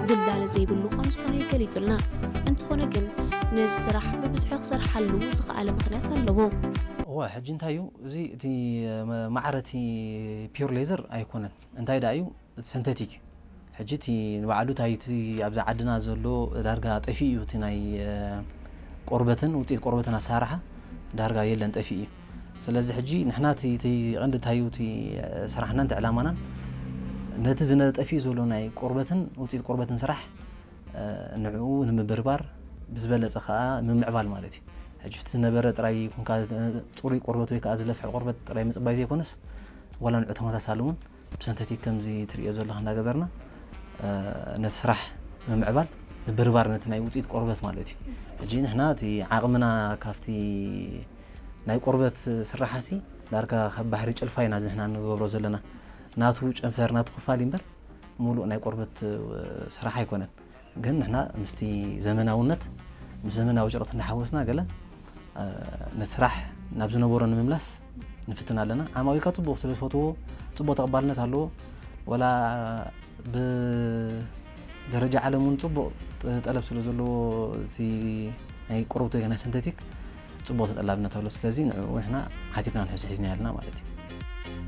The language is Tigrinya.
ድልዳለ ዘይብሉ ከም ዝኾነ ገሊጹልና። እንተኾነ ግን ነዚ ስራሕ ብብዝሒ ክሰርሓሉ ዝኸኣለ ምኽንያት ኣለዎ። እወ፣ ሕጂ እንታይ እዩ እዚ፣ እቲ ማዕረ እቲ ፒር ሌዘር ኣይኮነን። እንታይ ደኣ እዩ፣ እቲ ሰንተቲክ እዩ። ሕጂ እቲ ንባዕሉ እንታይ፣ እቲ ኣብዛ ዓድና ዘሎ ዳርጋ ጠፊኡ እዩ፣ እቲ ናይ ቆርበትን ውፅኢት ቆርበትን ኣሰራርሓ ዳርጋ የለን፣ ጠፊኡ እዩ። ስለዚ ሕጂ ንሕና እቲ ቀንዲ እንታይ እዩ፣ እቲ ስራሕናን እቲ ዕላማናን ነቲ ዝነ ጠፊኡ ዘሎ ናይ ቆርበትን ውፅኢት ቆርበትን ስራሕ ንዕኡ ንምብርባር፣ ብዝበለፀ ከዓ ምምዕባል ማለት እዩ። ሕጂ እቲ ዝነበረ ጥራይ ኮንካ ፅሩይ ቆርበት ወይ ከዓ ዝለፍሐ ቆርበት ጥራይ ምፅባይ ዘይኮነስ፣ ዋላ ንዑ ተመሳሳሊ እውን ብሰንተቲክ ከምዚ ትሪኦ ዘለኻ እንዳገበርና ነቲ ስራሕ ምምዕባል፣ ምብርባር ነቲ ናይ ውፅኢት ቆርበት ማለት እዩ። ሕጂ ንሕና እቲ ዓቕምና ካብቲ ናይ ቆርበት ስራሓሲ ዳርጋ ካብ ባሕሪ ጭልፋ ኢና ንሕና ንገብሮ ዘለና። ናቱ ጨንፈር ናቱ ክፋል እምበር ሙሉእ ናይ ቆርበት ስራሕ ኣይኮነን። ግን ንሕና ምስቲ ዘመናውነት፣ ምስ ዘመናዊ ጭርቕቲ እናሓወስና ገለ ነቲ ስራሕ ናብ ዝነበሮ ንምምላስ ንፍትን ኣለና። ዓማዊልካ ፅቡቕ ስለ ዝፈትዎ፣ ፅቡቕ ተቐባልነት ኣለዎ። ወላ ብደረጃ ዓለም እውን ፅቡቕ ጠለብ ስለ ዘለዎ፣ እቲ ናይ ቆርበት ወይ ናይ ሰንተቲክ ፅቡቕ ተጠላብነት ኣሎ። ስለዚ ንዕኡ ንሕና ሓቲትና ንሕዚ ሒዝና ኣለና ማለት እዩ።